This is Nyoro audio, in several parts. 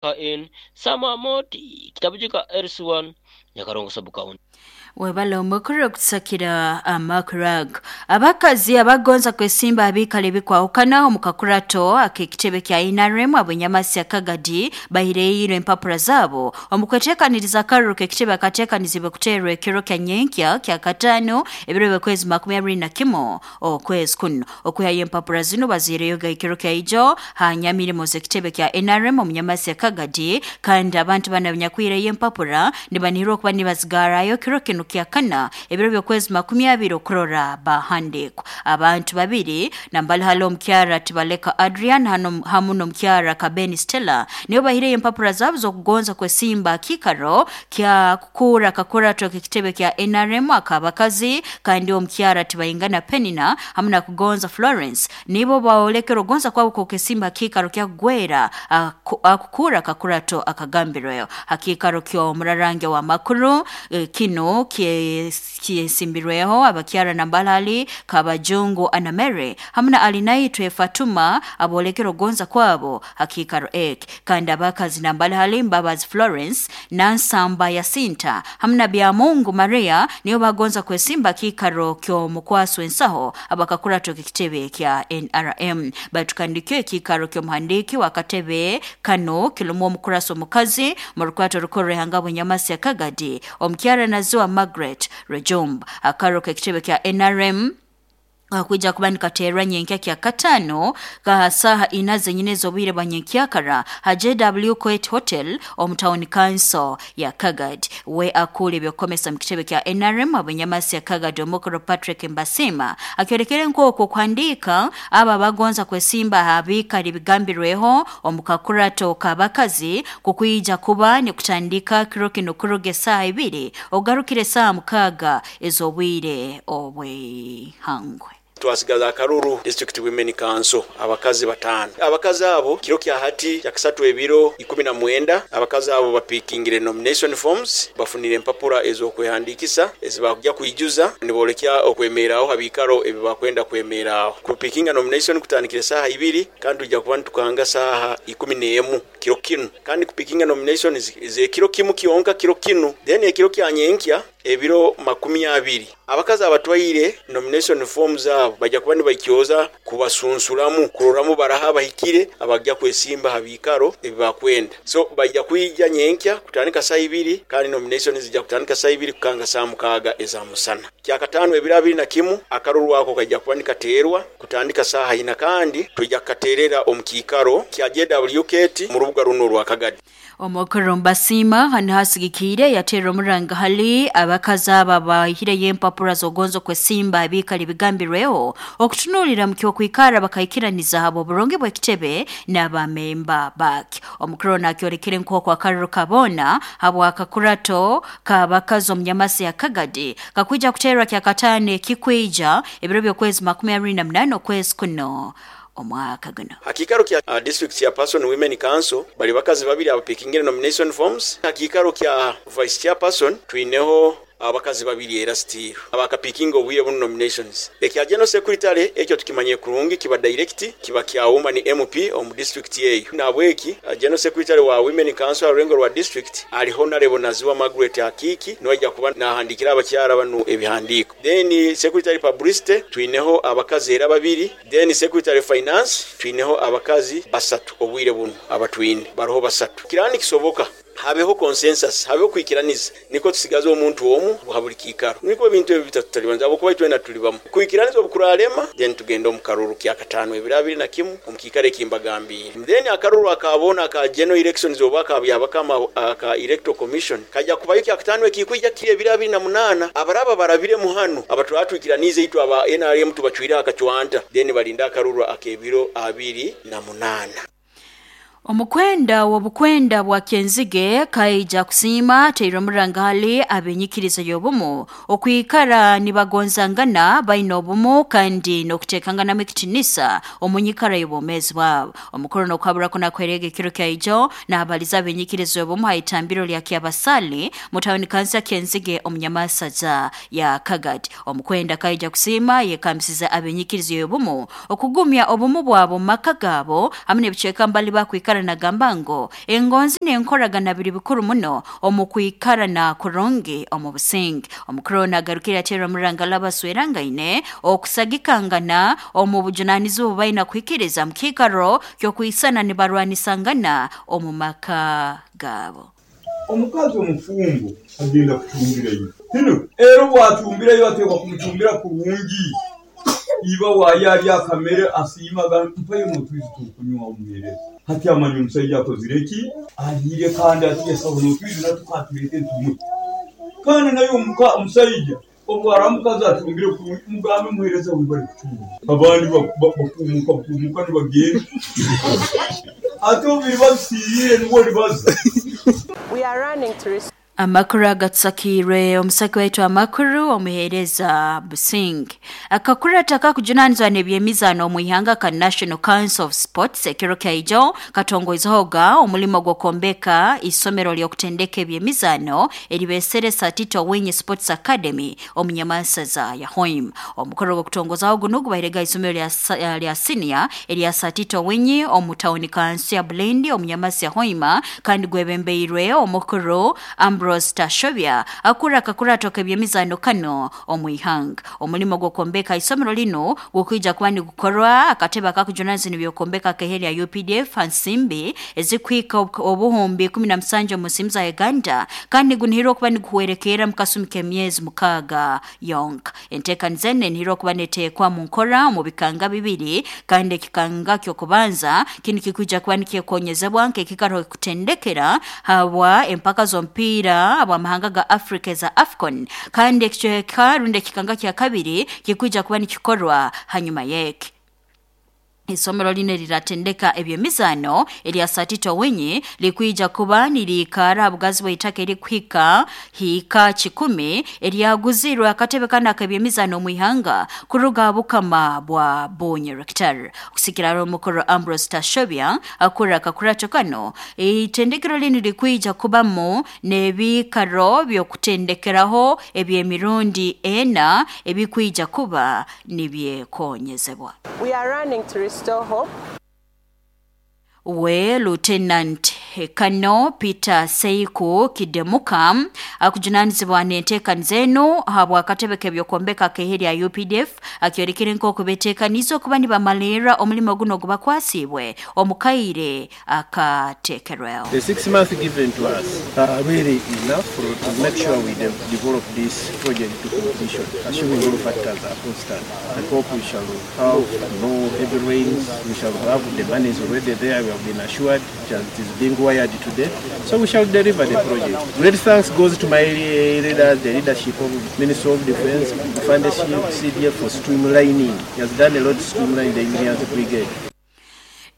N Samamoti kitabu ka LC1 Nyakarongo Sub County. Webale omukuru okutusakira amakuru. Abakazi abagonza kwesimba abikale ebikwahukana omu kakurato ak'ekitebe kya NRM ab'enyamasya Kagadi bahireire empapura zaabo omu kweteekaniriza akaruru k'ekitebe akateekanizibwe kuteerwa ekiro kya nyenkya kya kataano ebiro by'okwezi 21 okwezi kuno. Okwihayo empapura zinu baziireyoga ekiro kya ijo ha nyamirimo z'ekitebe kya NRM omu nyamasya Kagadi, kandi abantu banu abanyakwihireyo empapura nibanihirwa okuba nibazigarayo kiro kinu kya kana ebiro by'okwezi 20 okurora bahandikwa. Abantu babiri nambali hali omukyara Tibaleka Adrian hamu n'omukyara Kabeni Stella nibo bahireyo empapura zaabo z'okugonza kwesimba kikaro kya kukura kakurato k'ekitebe kya NRM ak'abakazi, kandi omukyara Tibaingana Penina hamu na Kugonza Florence nibo baolekera ogonza kwabo k'okesimba kikaro kya kugwera akukura kakurato akagambirweyo hakikaro ky'omurarange wa makuru. Kino kyesimbirweho abakyara nambalali Kabajungu Anamere hamu na Alinaitwe Fatuma abolekera ogonza kwabo hakikaro eki, kandi abakazi nambalali Mbabazi Florence Nansamba Yasinta hamu na Byamungu Maria niyo bagonza kwesimba kikaro ky'omukwasi w'ensaho abakakurato k'ekitebe kya NRM. Batukandikyo ekikaro ky'omuhandiiki w'akatebe kano kirumu omukurasi omukazi mu rukwato rukuru ruhanga bw'enyamasya Kagadi omukyara Naziwa Margaret Rejumba. Akaro k'ekitebe kya NRM kakwija kuba nikateerwa nyenkya kya kataano ka saaha ina zenyine ez'obwire bwa nyenkyakara ha JW Coet Hotel omu town council ya Kagadi. We akura ebyokukomesa mu kitebe kya NRM ab'enyamasya Kagadi omukuru Patrick Mbasima akyolekere nk'okwo okuhandiika abo abagonza kwesimba aha biikaro ebigambirweho omu kakurato k'abakazi kukwija kuba nikutandika kiro kinu kuruga esaaha 2 ogarukire esaaha 6 ez'obwire obw'eihangwe. Twasigaza akaruru District Women Council abakazi 5. Abakazi abo kiro kya hati kya kasatu ebiro 19 abakazi abo bapikingire nomination forms, bafunire empapura ez'okwehandikisa ezibakujya kwijuza nibolekya okwemeraaho habikaro ebi bakwenda kwemeraaho. Kupikinga nomination kutandikire saaha 2 kandi tujja kuba nitukanga saaha 11 kiro kinu, kandi kupikinga nomination zekiro kimu kyonka kiro kinu, then ekiro kya nyenkya ebiro 20 abakazi abatwaire nomination forms abo bajja kuba nibaikyoza kubasunsuramu kuroramu baraha bahikire abajja kwesimba ha biikaro ebibakwenda. So bajja kwija nyenkya kutandika saa 2 kandi nomination zijja kutandika saa 2 kukanga saa 6 eza musana. Kyakataano ebiro 21 akaruru ako kajja kuba nikateerwa kutandika saa 4 kandi tujja kukateerera omu kiikaro kya JW Kate mu rubuga runo rwa Kagadi. Omukuru Mbasima hano hasigikiire yateera omuranga hali abakazi aba bahireyo empapura z'ogonza kwesimba abiikara ebigambirweho okutunuulira mu ky'okwikara bakaikiraniza habo oburungi bw'ekitebe n'abamemba bake. Omukuru nakyolekere nk'oku akaruru kabona habw'akakurato k'abakazi omu nyamasi ya Kagadi kakwija kuteerwa kya kataano ekikwija ebiro by'okwezi 28 okwezi kuno omwaka guno. Hakikaro kya District Chairperson Women Council bali bakazi babiri abapikingire nomination forms. Hakikaro kya Vice Chairperson twineho abakazi babiri era still abakapikinga obwire buno nominations. Ekya General Secretary ekyo tukimanye kurungi kiba direct kiba kya woman MP omu district eyo. Nabweki General Secretary wa Women Council arurengo rwa district ali Honorable Naziwa Margaret Akiki niwe kuba nahandikira abakyara banu ebihandiko. Then Secretary Publicity twineho abakazi era babiri. Then Secretary Finance twineho abakazi 3 obwire buno abatwine baroho 3. Kirani kisoboka habeho consensus, habeho kwikiraniza niko tusigaza omuntu omu habuli kikaro niko ebintu ebi bitatu tutalibanza abakuba itwena tulibamu kwikiraniza obukuralema. Then tugenda omu karuru kya kataano ebiro 21 omu kikaro ekimbagambiire. Then akaruru akabona aka general elections oba akabyabakama aka electoral commission kajja kubayo kya kataano ekikwija kiri ebiro 28 abaraba barabire muhano abatwatwikiranize itwe aba NRM tubacwire akacwanta then balinda akaruru akebiro 28. Omukwenda w'obukwenda bwa Kenzige kaija kusiima teire omuranga hali abenyikiriza y'obumu okwikara nibagonzangana baine obumu kandi n'okuteekanganamu ekitinisa omu nyikara y'obwomeezi bwabo. Omukuru n'okuhabura kunakwerega ekiro kya ijo n'abaliza abenyikiriza y'obumu ha itambiro lya Kyabasali mu tawuni kansi ya Kenzige omu nyamasaza ya Kagadi. Omukwenda kaija kusiima yekambisiza abenyikiriza y'obumu okugumya obumu bwabo mu maka gaabo hamwe n'ebicweka mbali bakwikara Akwikara nagamba ngo engonzi n'enkoragana biri bikuru muno omu kwikarana kurungi omu businge. Omukuru nagarukira atera omuranga labaswerangaine okusagikangana omu bujunanizibwa baina kuhikiriza mu kiikaro ky'okwisana nibarwanisangana omu maka gabo. Omukazi omufumbo agenda kucumbirayo hino era bw'acumbirayo ateekwa kumucumbira kurungi iba waayo ali akamere asiimaga mpayo n'otwizi tukunywa omuheereza hati amanya omusaija akozire ki aliire kandi ati yasaho n'otwizi natukatulete ntumwe kandi naye omusaija obwara omukazi acumbire kurungi mugambe muheereza we bari kucumba abandi bakumuka nibagenda ate obubiri babisiiriire nibwo nibaza. We are running to Amakuru agatsakirwe omusaki waitu amakuru omuhereza Busing. Akakurata kakujunanizwa n'ebyemizano omu ihanga ka National Council of Sports ekiro kyaijo katongoizoga omulimo gw'okombeka isomero ly'okutendeka ebyemizano eribeseresa Tito Winyi Sports Academy omu Nyamansaza ya Hoima. Omukoro gw'okutongozaho guno gubairega isomero lya senior erya Tito Winyi omu tawuni kansi ya Bulendi omu Nyamansa ya Hoima kandi gwebembeirwe omukuru Ambrose Tashobya akura akakurato k'ebyemizano kano omu ihanga. Omulimo gw'okombeka isomero lino gukwija kuba nigukorwa akatebe akakujunanizibwa n'ebyokombeka keheri ya UPDF Hansimbi ezikwika obuhumbi 17 mu nsimu za Uganda kandi gunihirwa okuba niguhwerekera mu kasumi k'emyezi 6 yonka. Enteekaniza eno enihirwa okuba neteekwa mu nkora mu bikanga bibiri kandi ekikanga ky'okubanza kinu kikwija kuba nikyekonyezebwa nk'ekikaro kutendekera habwa empaka z'omupiira abamahanga ga Africa za AFCON kandi ekicweka rundi ekikanga kya kabiri kikwija kuba nikikorwa hanyuma yeke. Isomero line liratendeka ebyemizano erya Tito Winyi likwija kuba nirikara bugazi bw'itaka erikuhika hika 10 eryaguzirwe akatebe kana k'ebyemizano mu ihanga kuruga bukama bwa Bonye Rector. Kusikira omukuru Ambrose Tashobya akura akakurato kano itendekero line likwija kubamo n'ebikaro by'okutendekeraho eby'emirundi 4 ebikwija kuba nibyekonyezebwa. We are running to restore hope. We Lieutenant Kano Peter Seiku Kidemuka akujunanizibwa n'enteekaniza eno habwa akatebe k'ebyokombeka k'eheri ya UPDF akyorekere nk'oku beteekaniza okuba nibamalirra omulimo guno gubakwasiibwe omukaire akateekerweho. The 6 months given to us are really enough to make sure we develop this project to completion, assuming all factors are constant. I hope we shall have no heavy rains, we shall have the money is already there, we have been assured it is being wired today, so we shall deliver the project. Great thanks goes to my leaders, the leadership of Minister of Defense, Fundeship, CDF for streamlining. He has done a lot to streamline the Engineers Brigade.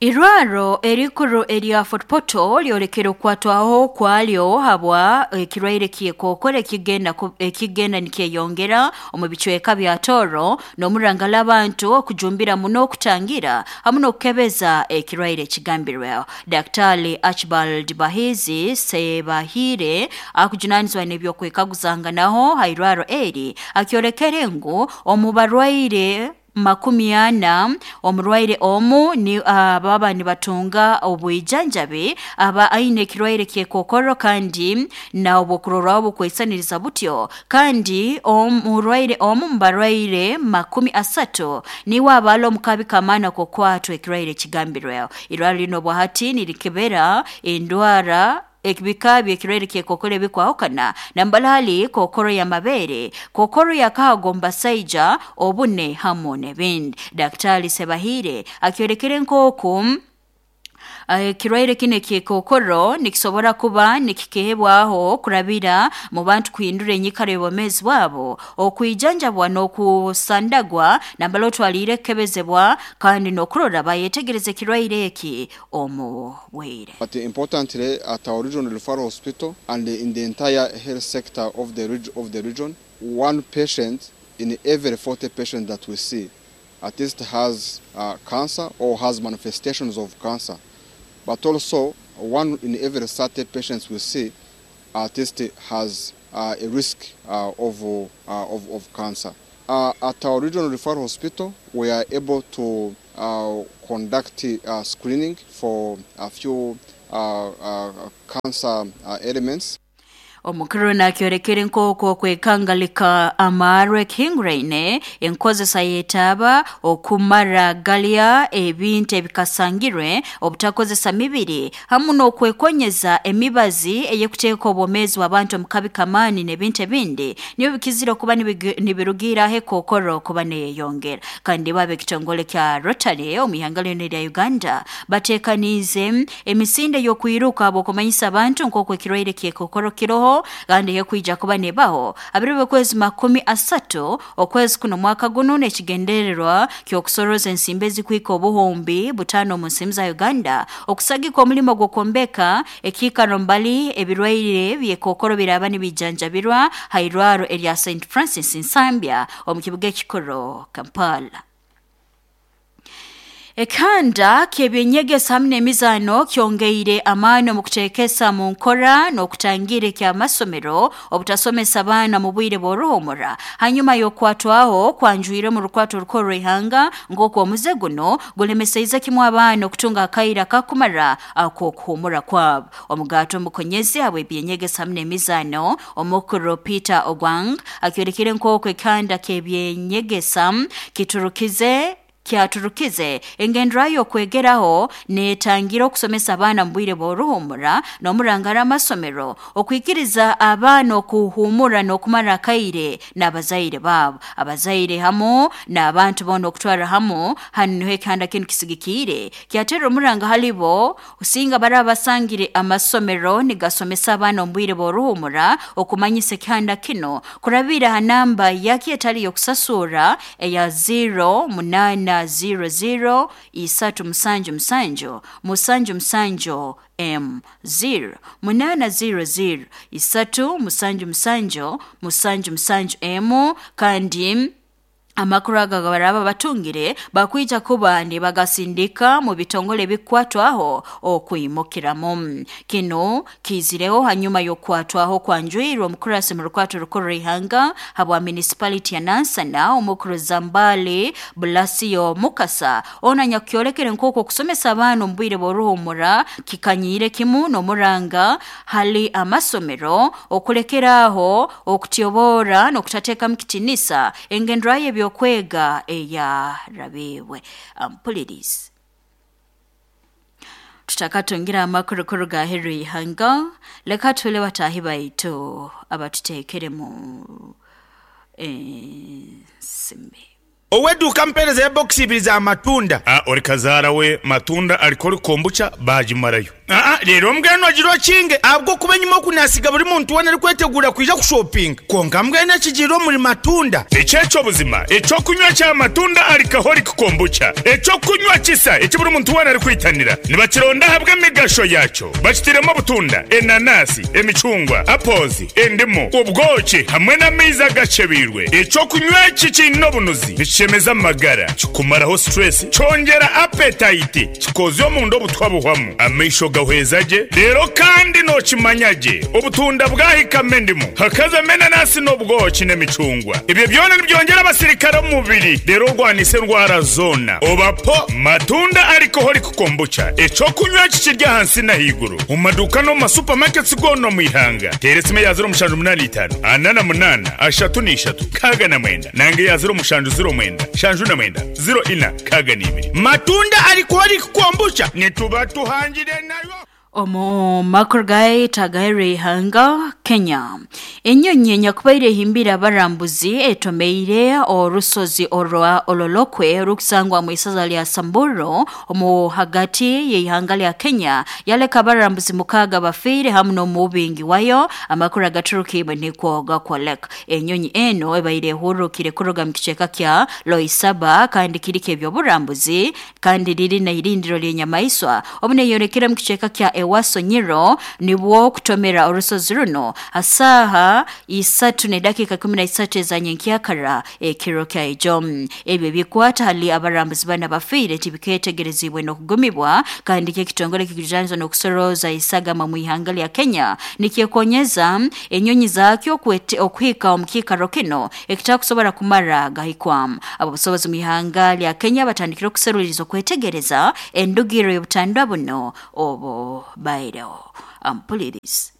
Irwaro erikuru erya Fort Portal lyolekera okwatwaho kwalyo habwa ekirwaire ky'ekokoro ekigenda nikyeyongera omu bicweka bya Toro n'omurangala abantu okujumbira muno okutangira hamu n'okukebeza ekirwaire ekigambirweho. Daktari Archibald Bahizi Sebahire akujunanizibwa n'ebyokwekaguzanganaho ha irwaro eri akyolekere ngu omu barwaire 40 omurwaire omu ni baba nibatunga obwijanjabi aba aine ekirwaire ky'ekokoro kandi na obukurorwaho bukwesaniriza butyo kandi omurwaire omu mubarwaire 30 niwe abala omukabi kamaana kokwatwa ekirwaire ekigambirweho. Irwaro lino bwahati nirikebera endwara ekibika by'ekirwaire ky'ekokoro ebikwahukana nambalali kokoro ya mabere, kokoro ya kago mbasaija, obune hamu n'ebindi. Daktari Sebahire akyolekere nk'oku ekirwaire kino eky'ekokoro nikisobora kuba nikikehebwaho kurabira mu bantu kuhindura enyikara y'obwomeezi bwabo, okwijanjabwa n'okusandagwa nambala otwaliire kukebezebwa kandi n'okurora bayetegereza ekirwaire eki omu bwire. But importantly, at our regional referral hospital and in the entire health sector of the region, one patient in every 40 patients that we see at least has cancer or has manifestations of cancer. But also, one in every 30 patients we see at least has a risk of cancer. At our regional referral hospital, we are able to conduct screening for a few cancer elements. Omukuru nakyorekere nk'okwo okwekangalika amarwe ekihinguraine enkozesa yetaaba okumara galya ebintu ebikasangirwe obutakozesa mibiri hamu n'okwekonyeza emibazi eyekuteeka obwomeezi bw'abantu omu kabi kamaani n'ebintu ebindi nibyo bikizire okuba nibirugiiraho ekookoro kuba neyeyongera. Kandi bo ab'ekitongole kya Rotary omu ihanga lyona erya Uganda bateekaniize emisinde y'okwiruka habw'okumanyisa abantu nk'oku ekirwaire ky'ekookoro kiroho kandi ekwija kuba nebaho abiro b'okwezi 30 okwezi kuno mwaka guno n'ekigendererwa ky'okusoroza ensimbi ezikwika 5,000 omu nsimu za Uganda okusagika omulimo gw'okwombeka ekiikaro mbali ebirwaire by'ekookoro biraba nibijanjabirwa hairwaro erya St Francis Nsambya omu kibuga ekikuru Kampala. Ekanda ky'ebyenyegesa hamwe n'emizaano kyongeire amaani omu kuteekesa mu nkora n'okutangira eky'amasomero obutasomesa abaana mu bwire bw'oruhumura hanyuma y'okukwatwaho kwanjwire mu rukwato rukuru rw'ihanga nk'oku omuze guno gulemeseize kimu abaana okutunga akaira kakumara ak'okuhumura kwabo. Omugato omukonyezi habw'ebyenyegesa hamwe n'emizaano omukuru Peter Ogwang akyorekire nk'oku ekanda ky'ebyenyegesa kiturukize kyaturukize engendera y'okwegeraho neetangira okusomesa abaana mu bwire bw'oruhumura n'omurangara amasomero okwikiriza abaana okuhumura n'okumara akaire n'abazaire baabo abazaire hamu n'abantu boona okutwara hamu hanu niho ekihanda kinu kisigikiire kyatera omuranga halibo osinga baraba basangire amasomero nigasomesa abaana omu bwire bw'oruhumura okumanyisa ekihanda kino kurabira ha namba yaki etali y'okusasura eya 08 00 3 7 7 7 M 0 8 00 3 7 7 7 7 M kandi amakuru aga baraba batungire bakwija kuba nibagasindika mu bitongole bikwatwaho okwimukiramu. Kino kizireho hanyuma y'okukwatwaho kwanjwirwe omukurasi mu rukwato rukuru rw'ihanga habwa municipality ya Nansana omukuru Zambali Blasio Mukasa ona nyakukyolekere nk'oku okusomesa abaana omu bwire bw'oruhumura kikanyiire kimu n'omuranga hali amasomero okulekeraaho okutyobora n'okutateekamu kitinisa engendera y'ebyokwega eya rabiwe ampulirizi. Tutakatungira amakuru kuruga aheeru y'ihanga leka tule bataahi baitu abatuteekeremu ensimbi. Oweduuka mpereza ya bokisi ibiri za matunda. Ori kazaara we matunda alikori kombucha baagimarayo. Leero mbwenu ogira okinge ahabw'okuba enyima oku naasiga buri muntu weena arikwetegura kwija kushopinga. Kwonka mbwenu ekigiire omuri matunda. Eky'eky'obuzima ekyokunywa kya matunda alikaholic kombucha. Ekyokunywa kisa eki buri muntu weena arikwitanira. Nibakironda ahabw'emigasho yakyo. Bakitiremu obutunda, enanasi, emicungwa, apples, endimu, obwoki hamwe n'amaizi agacebeirwe. Ekyokunywa eki kiine obunuzi nikishemeza amagara, kikumaraho stress, kyongera appetite, kikozya omunda obutwa buhwamu, amaisho gahweza gye, leero kandi nookimanya gye obutunda bwahikama endimu, hakazamo enanasi n'obwoki n'emicungwa. Ebyo byona nibyongera abasirikare omu mubiri, leero orwanise endwara zoona. Obapo matunda alcoholic kombucha, ekyokunywa kikiri ahansi n'ahaiguru omu maduuka n'omu masupamaketi goona omu ihanga. Teera esimu eya 0785 48 33 69 nange eya 0709 79 04 62. Matunda alcoholic kombucha nituba tuhangire nayo. Omu makuru gaita ihanga Kenya enyonyi enyakubaire ehimbire abarambuzi etomeire orusozi orwa Ololokwe orukusangwa mu isaza lya Samburu omu hagati y'ihanga lya Kenya yaleka abarambuzi 6 bafiire hamu n'omubingi wayo. Amakuru agaturukibwe nikwo gakwoleka enyonyi eno ebaire ehurukire kuruga mu kicweka kya Loisaba kandi kiriko ebyoburambuzi kandi riri na irindiro ly'enyamaiswa obu neyorekera mu kicweka kya Ewaso Nyiro nibwo kutomera orusozi runo. Asaha 3:13 ezanyenkyakara ekiro kya ijo. Ebyo bikwata hali abarambuzi bana bafiire tibiketegerezibwe n'okugumibwa, kandi ekitongole kikujaniza n'okusoroza isagama mu ihanga lya Kenya nikyekonyeza enyonyi zakyo okuhika omu kiikaro kino ekitakusobora kumara gahikwamu. Ababusobozi mu ihanga lya Kenya batandikire okuseruliiriza okwetegereza endugiro y'obutandwa buno obo baireho. Ampulirizi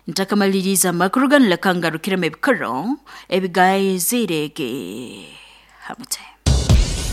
ntakamaliriza amakuru ganu, leka ngarukiremu ebikoro ebigayizirege hamute.